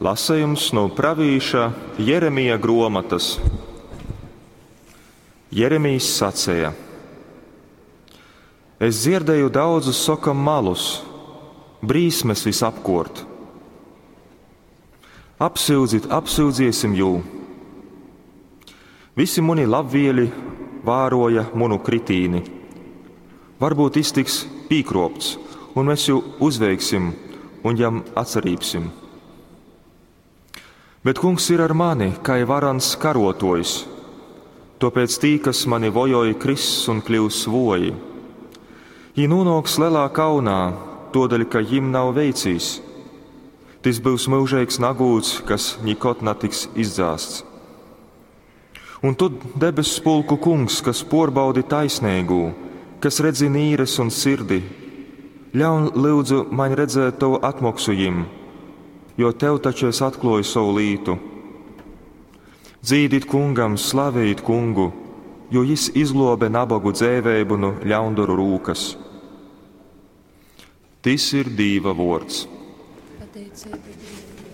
Lasejums nu pravīša Jeremija gruomotys. Jeremijs saceja: Es dzierdēju daudzus sokam malus, brīsmes visapkuort. Apsyudzit, apsyudziesim jū! Visi muni labvieļi vāroja munu kritīni. Varbūt iztiks pīkropts, un mēs jū uzveiksim un jam atsarībsim. Bet kungs ir ar mani, kai varans karotojs. Topēc tī, kas mani vojoj, kriss un kļūs voji. Jī nonāks lielā kaunā, todaļ, ka jim nav veicīs. Tys būs mūžīgs nagūds, kas nikod netiks izdzāsts. Un tu, debes pulku kungs, kas porbaudi taisnīgū, kas redzi nīres un sirdi, ļaun lūdzu man redzēt tavu atmoksu jim, jo tev taču es atkloju savu lītu. Dzīdit kungam, slavējit kungu, jo jis izglobe nabagu dzēvēbu nu ļaundaru rūkas. Tis ir Dīva vords. Pateicība Dievam.